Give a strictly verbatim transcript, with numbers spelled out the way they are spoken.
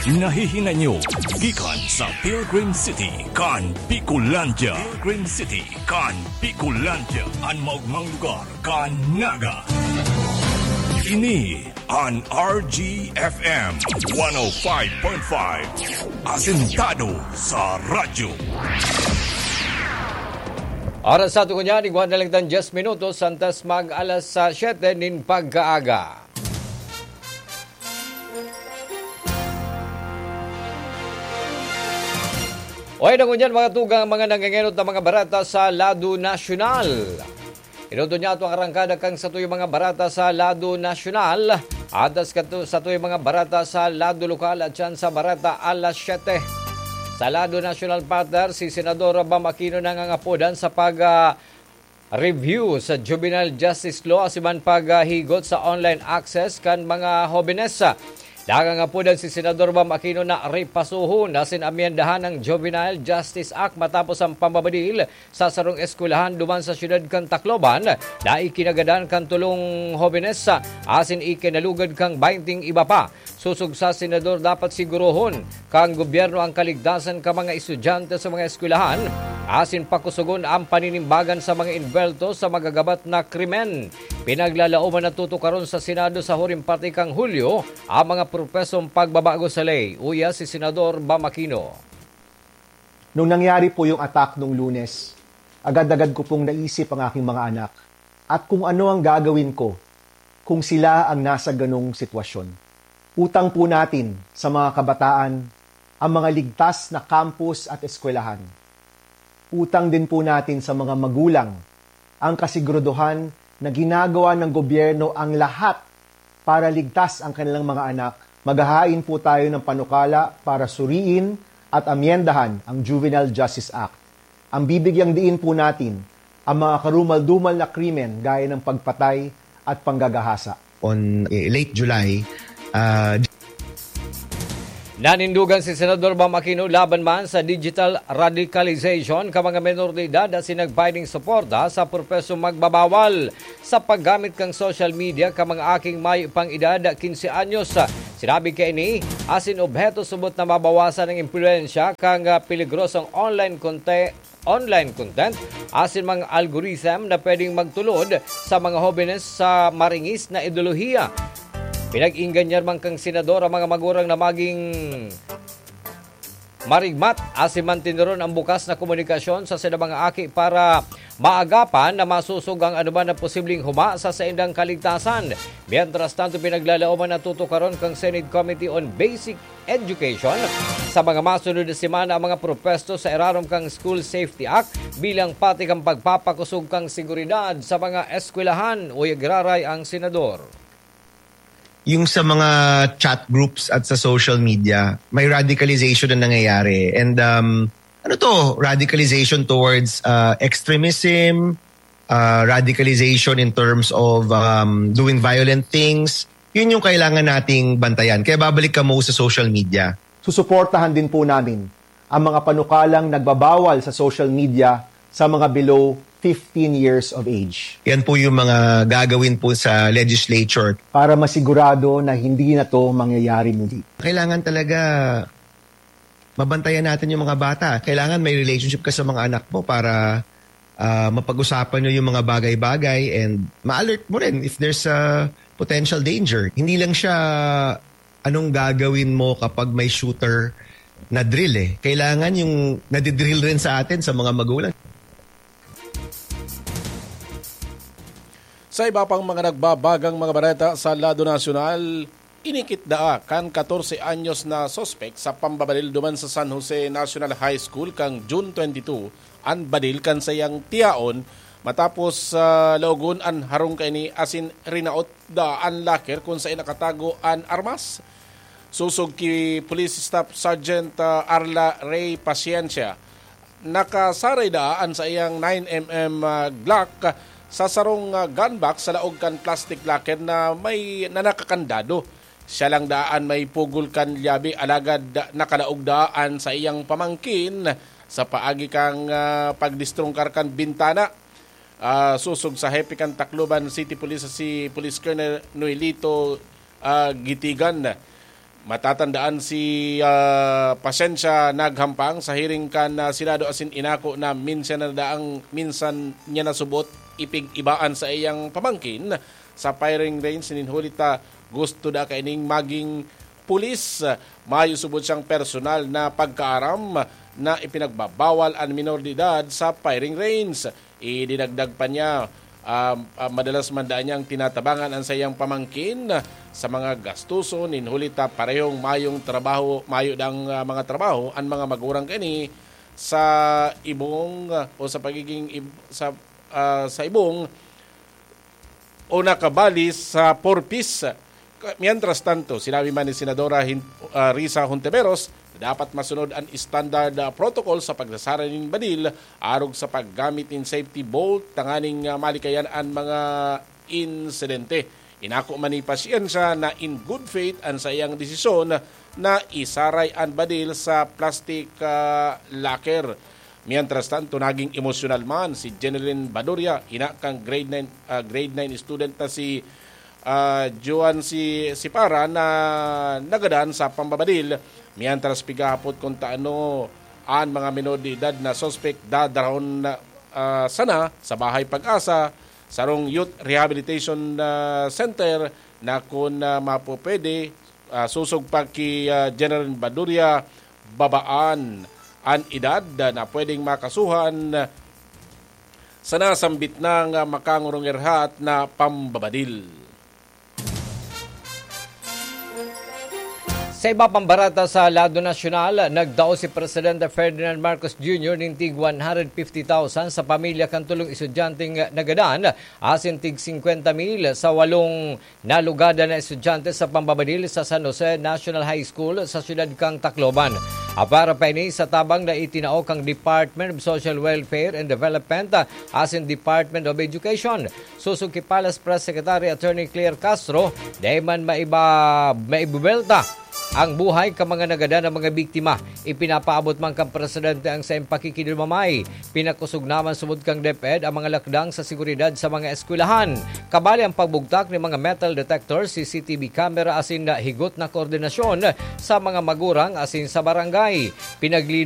Nahihinay nyo gikan sa Pilgrim City kan Bicolandia. Pilgrim City kan Bicolandia, an maogmang lugar kan Naga. Ini an R G F M one oh five point five, asentado sa radyo. Oras sa ato ngunyan, igwa na lang tan diyes minutos antes mag alas, ah, siyete nin pagkaaga. O, yan ang ngunyan, mga tugang, mga nangengenot na mga bareta sa lado nasyonal. Inutod niya ato ang arangkada kan satuyang mga bareta sa lado nasyonal. Atas kato, satuyang mga bareta sa lado lokal at siyan sa bareta alas siyete. Sa lado nasyonal, partner, si Senador Bam Aquino nangangapodan sa pag, ah, review sa Juvenile Justice Law asin man paghigot sa online access kan mga hobenes. Nangangapodan si Senador Bam Aquino na repasohon asin amyendahan ang Juvenile Justice Act matapos ang pambabadil sa sarong eskwelahan duman sa siyudad kan Tacloban na ikinagadan kan tolong hobenes asin ikinalugad kan baynting iba pa. Sosog sa senador, dapat sigurohon kan gobyerno ang kaligtasan kan mga estudyante sa mga eskwelahan asin pakusogon ang paninimbagan sa mga envuelto sa magagabat na krimen. Pinaglalaoman na tutukaron sa Senado sa huring parte kan Hulyo ang mga propesong pagbabago sa ley, uya si Senador Bam Aquino. Nung nangyari po yung attack nung Lunes, agad-agad ko pong naisip ang aking mga anak at kung ano ang gagawin ko kung sila ang nasa ganong sitwasyon. Utang po natin sa mga kabataan ang mga ligtas na campus at eskwelahan. Utang din po natin sa mga magulang ang kasiguraduhan na ginagawa ng gobyerno ang lahat para ligtas ang kanilang mga anak. Maghahain po tayo ng panukala para suriin at amyendahan ang Juvenile Justice Act. Ang bibigyang diin po natin ang mga karumal-dumal na krimen gaya ng pagpatay at panggagahasa. On, eh, late July, ah, Nanindugan si Senador Bam Aquino laban man sa digital radicalization kan mga menor de edad asin nagpahiling suporta sa propesong magbabawal sa paggamit kan social media kan mga aking mayo pang edad quince anyos. Sinabi kaini, asin obheto subot na mabawasan ang impluwensya kan, ah, peligrosong online conte-, online content asin mga algorithm na pwedeng magtulod sa mga hobenes sa maringis na ideolohiya. Pinag-ingganyar man kan senador ang mga magurang na maging marigmat asin mantinuron ang bukas na komunikasyon sa saindang mga aki para maagapan na masosog ang anuman na posibleng huma sa saindang kaligtasan. Mientras tanto, pinaglalaoman na tutukaron kan Senate Committee on Basic Education sa mga masunod na semana ang mga propesto sa irarom kan School Safety Act bilang pati kan pagpapakosog kan seguridad sa mga eskwelahan, uya giraray ang senador. Yung sa mga chat groups at sa social media, may radicalization na nangyayari. And, um, ano to? Radicalization towards, uh, extremism, uh, radicalization in terms of, um, doing violent things. Yun yung kailangan nating bantayan. Kaya babalik kamo sa social media. Susuportahan din po namin ang mga panukalang nagbabawal sa social media sa mga below fifteen years of age. Yan po yung mga gagawin po sa legislature. Para masigurado na hindi na to mangyayari muli. Kailangan talaga mabantayan natin yung mga bata. Kailangan may relationship ka sa mga anak mo para, ah, mapag-usapan nyo yung mga bagay-bagay and ma-alert mo rin if there's a potential danger. Hindi lang siya anong gagawin mo kapag may shooter na drill eh. Kailangan yung nadidrill rin sa atin, sa mga magulang. Sa iba pang mga nagbabagang mga bareta sa lado nasyonal, inikit daa kan katorse anyos na suspek sa pambabaril duman sa San Jose National High School kan June twenty-two an baril kan saiyang tiyaon matapos, ah, laogon an harong kaini asin rinaot daa an locker kun saen nakatago an armas. Sosog ki Police Staff Sergeant, ah, Arla Ray Paciencia, nakasaray daa an saiyang nine M M, ah, Glock sa sarong, ah, gun box sa laog kan plastic locker na may, na nakakandado. Siya lang daa an may pugol kan lyabe, alagad nakalaog daa an saiyang pamangkin sa paagi kan, ah, pagdestrungkar kan bintana. Ah, sosog sa hepe kan Tacloban City Police, si Police Colonel Noelito, ah, Gitigan. Matatandaan si, ah, Pasensya naghampang sa hearing kan, ah, Senado asin inako na minsan na daang, minsan niya nasubot ipig-iba an saiyang pamangkin sa firing range nin huli ta gusto da kaining maging pulis. Mayo subot siyang personal na pagkaaram na ipinagbabawal an minor de edad sa firing range. Idinagdag pa niya, ah, ah, madalas man daan niyang tinatabangan an saiyang pamangkin sa mga gastuson, nin huli ta parehong mayong trabaho, mayo dang, ah, mga trabaho an mga magurang kaini sa ibong, ah, o sa pagiging ib-, sa, ah, sa ibong o nakabali sa Four Ps. Ka-, mientras tanto, sinabi man ni Senadora Hin-, ah, Risa Hontiveros na dapat masunod an standard, ah, protocol sa pagsasara nin badil arog sa paggamit nin safety bolt tanganing, ah, malikayan an mga insidente. Inako man ni Pasensya na in good faith an saiyang desisyon na isaray an badil sa plastic, ah, locker. Mientras tanto, naging emosyonal man si Jeneline Baduria, ina kan grade nine, ah, grade nine student na si, ah, Joan si Sipara na nagadan sa pambabadil, mientras pigahapot kung taano an mga menor de edad na suspek dadarahon na, ah, sana sa Bahay Pag-asa, sarong Youth Rehabilitation, ah, Center na kun, ah, mapupwede, ah, sosog pa ki, ah, General Baduria, babaan an edad na pwedeng makasuhan sa nasambit na nga makangurungirhat na pambabadil. Sa iba pang barata sa lado nasyonal, nagtao si Presidente Ferdinand Marcos Junior nin tig one hundred fifty thousand sa pamilya kan tulong estudyanteng nagadan asin tig singkwenta mil sa walong nalugadan na estudyante sa pambabadil sa San Jose National High School sa siyudad kan Tacloban. Apara pa ini sa tabang na itinao kan Department of Social Welfare and Development asin Department of Education. Sosog ki Palace Press Secretary Attorney Claire Castro, dai man maiba-, maibubelta ang buhay kan mga nagadan na mga biktima. Ipinapaabot man kan presidente ang saiyang pakikidumamay. Pinakosog naman subod kan DepEd ang mga lakdang sa seguridad sa mga eskwelahan. Kabali ang pagbugtak nin mga metal detector, C C T V camera asin higot na koordinasyon sa mga magurang asin sa barangay. Pinaglino